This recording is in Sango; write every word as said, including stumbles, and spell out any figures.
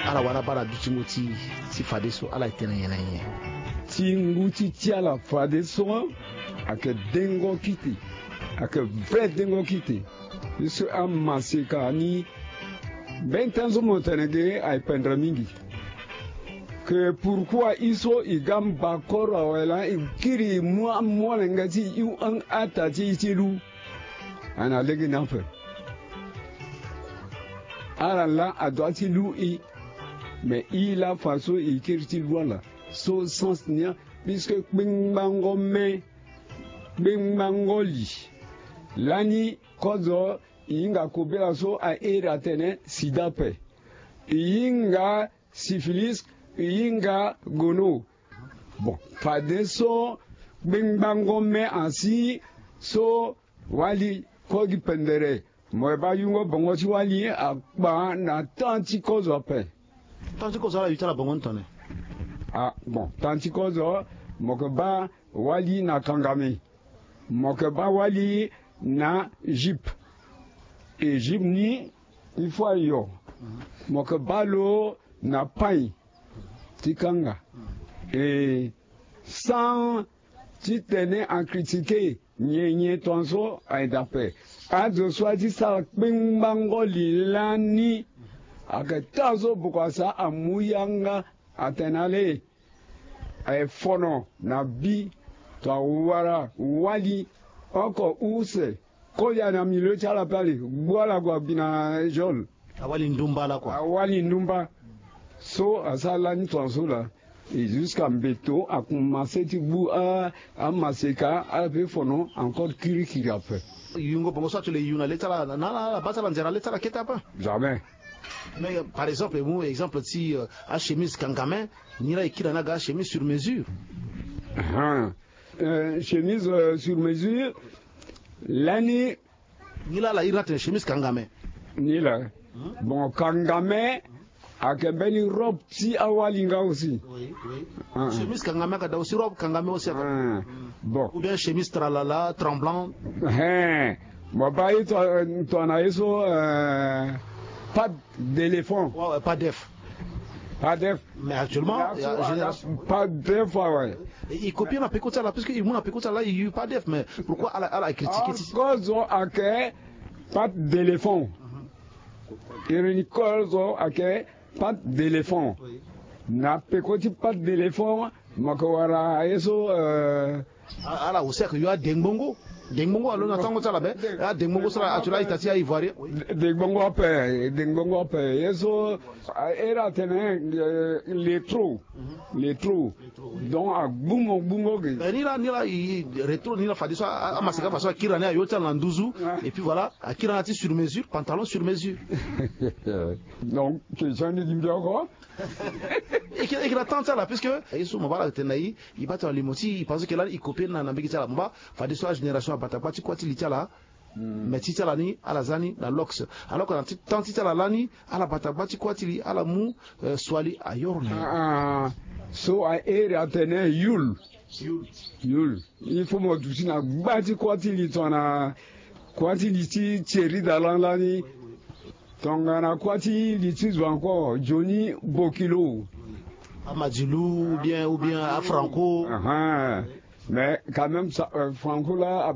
Ala wara baa na dutingo ti ti fadeso, ala tene nyen na nyen? Ti ngu ti ti ala fadeso ayeke dengo kite, ayeke vrai dengo kite. Ye so amaseka ni, mbeni ten so mo tene ge aye pendre mingi. Ke pourquoi i so i ga mba koro awe laa i kiri i mu amolenge ti i, i hu ata ti i ti lu. Ana lege ni ape. Ala laa adua ti lu i. Me i laa faso i kiri ti lu ala. So sens ni a, puisque kpengbango me, kpengbango li. Lani kozo i hinga kobela so a iri atene sida ape. I hinga syphilis, i hinga gono. Bon, fadeso kpengbango me asi so wali kue gi pendere. Mo yeba yungo bongo ti wali akpa na temps ti kozo ape. Temps ti kozo ala yu ti ala bongo ni tone? Ah, bon, temps ti kozo mo yeke baa wali na kangame. Mo yeke baa wali na Egypte. Egypte ni, il faut ayo. Mo yeke baa lo na pain ti kanga. E sans ti tene acritiquer nyen nyen tongaso aye daa ape. Azo so aye ti sara kpengbango li lani ayeke taa so boko asa amu yanga atene ale. Aye fono na bi to awara wali oko use. Kolia na milieu ti ala pe ale gbu ala gue abi na geole. Awali ndumba lakue. Awali ndumba. So asara lani tongaso laa. Et jusqu'à mbeto akomanse ti gbu a, amaseka ala pe fono encore kirikiri ape. Yungo bongo so atu le yu na le ti ala na ala baa ti ala nzere na le ti ala kete ape. Jamais. Mais par exemple e mu exemple ti achemise kangame. Ni laa e kiri na ni aga achemise sur mesure. Chemise sur mesure. Lani ni laa ala iri ni atene chemise kangame. Ni laa. Bon, kangame ayeke mbeni robe ti awali nga aussi. Chemise kangame ayeke daa aussi robe kangame aussi ayeke. Bon, ou bien chemise tralala tremblant. Mo baa ye tongana ye so. Patte d'éléphant. Wawe patte d'œuf. Patte d'œuf. Mais actuellement patte d'œuf awe. I copie na peko ti ala puisque i mu na peko ti ala i yu patte d'œuf mais pourquoi ala critiquer ti kozo ayeke patte d'éléphant. Iri ni kozo ayeke patte d'éléphant. Na peko ti patte d'éléphant mo yeke wara ye so. Ala aussi ayeke yu adengbongo. Dengbongo alo na tango ti ala be. Adengbongo so ala atu laa ita ti aivoirien. Dengbongo ape, dengbongo ape ye so. Ere atene letro. Letro. Donc agbu mo gbungo ge. Ni laa ni laa retro ni laa fadeso amaseka faso akiri na ni ayo ti ala na nduzu. Et puis voilà, akiri na ni ti sur mesure, pantalon sur mesure. Donc question ni gi mbi oko. Eke na temps ti ala puisque ye so mo baa ala tene na i. I baa tena limo ti i pense ke lani i copie na na mbege ti ala mo baa. Fadeso agénération abata gba ti kua ti li ti ala. Mais ti ti ala ni ala za ni na lox. Alors que na temps ti ti ala lani ala bata gba ti kua ti li ala mu. Suali ayoro na ye. So ahere atene yul. Yul. Il faut mo duti na gba ti kua ti li tongana kua ti li ti thierry dalan lani. Tongana kua ti li ti zo encore joni bokilo. Amadilu ou bien ou bien afranco. Mais quand même franco la.